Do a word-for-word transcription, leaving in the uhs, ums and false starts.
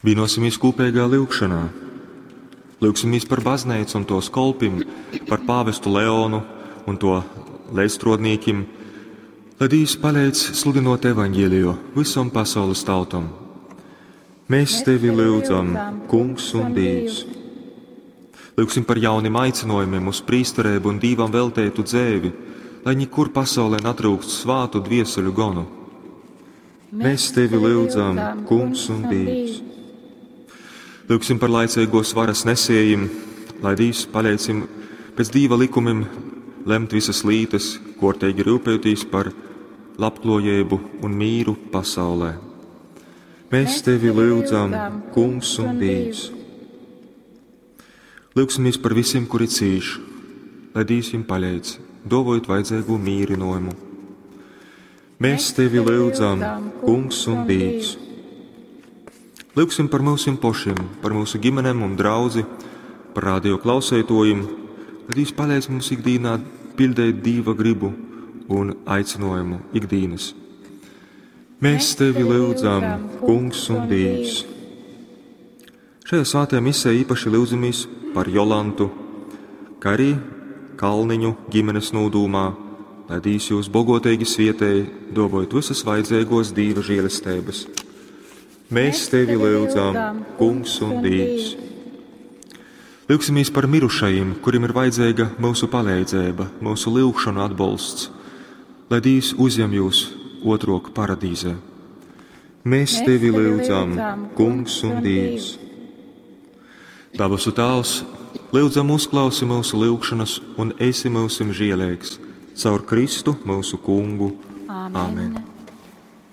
Vienosimies kopīgā lyugšanā. Lūgsimies par baznīcu un tos kolpim, par pāvestu Leonu un to līdzstrodnīkim, lai Dievs palīdz sludinot evaņģēliju visam pasaules tautam. Mēs tevi lūdzam, Kungs un Dievs. Lūgsim par jauniem aicinojumiem uz prīsterību un Dievam veltētu dzēvi, lai nekur pasaulē netrūkst svātu dvieseļu gonu. Mēs tevi lūdzam, Kungs un Dievs. Lūgsim par laicīgos varas nesējiem, lai Dievs palīdzim pēc Dieva likumiem lemt visas lītas, kortīgi rūpēties par labklājību un mīru pasaulē. Mēs tevi lūdzam, Kungs un Dievs. Lūgsimies par visiem, kuri cīš, lai Dievs viņiem palīdz, dovojot vajadzīgo mīrinājumu. Mēs tevi lūdzam, Kungs un Dievs. Lūgsim par mūsim pošiem, par mūsu ģimenēm un draudzi, par radio klausētojiem, lai Dievs palīdz mums ikdienā pildīt Dieva gribu un aicinājumu ikdienas. Mēs tevi lūdzam, Kungs un Dievs. Šajā svētajā misē īpaši lūdzamies par Jolantu, kā arī Kalniņu ģimenes nūdūmā, lai Dievs jūs bogotīgi svietēja, dovojot visas vajadzīgos Dieva žēlestības. Mēs tevi lūdzam, Kungs un Dievs. Lūgsimies par mirušajiem, kuriem ir vajadzīga mūsu palīdzība, mūsu lūgšanu atbalsts, lai Dievs uzņem jūs otrok paradīzē. Mēs tevi lūdzam, Kungs un Dievs. Dabasu Tēvs, lūdzam uzklausi mūsu lūgšanas un esi mūsim žēlīgs caur Kristu mūsu Kungu. Āmen. Āmen.